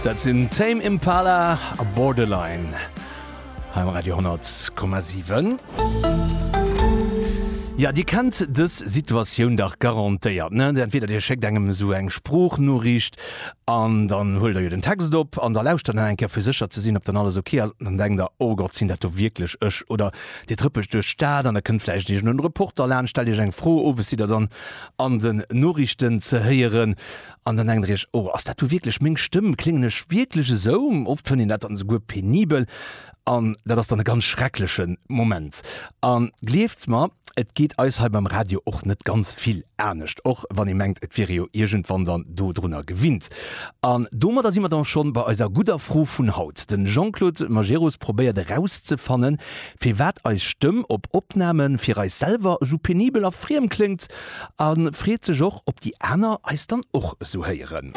Dat sinn Tame Impala a Borderline hei um Radio 10,7. Ja, Dir kennt dës Situatioun dach garantéiert, ne? Entweder Dir schéckt engem esou eng Sproochnoriicht an dann huelt der jo den Text op an da lauschtert der nach eng Kéier fir sécher ze sinn, ob dann alles ok ass an dann denkt der, Oh Gott, sinn dat do wierklech ech? Oder Dir trëppelt duerch d'Stad an da kënnt vläicht iergend en Reporter laanscht, stellt Iech eng Fro, owes sidd der dann an den Noriichten ze héieren an dann denkt der Iech, Oh, ass dat do wierklech meng Stëmm? Kléngen ech wierklech esou? Oft fënnt een dat dann esouguer penibel an dat ass dann e ganz schreckleche Moment. A gleeft mer, et geet eis hei beim Radio och net ganz vill anescht, och wann ee mengt, et wier ee jo iergendwann dann dodrunner gewinnt. An domadder si mer dann schonn bei eiser gudder Fro vun haut. Den Jean-Claude Majerus probéiert erauszefannen, firwat eis Stëmm op Opname fir eis selwer esou penibel a friem kléngt a freet sech och, ob déi aner eis dann och esou héieren.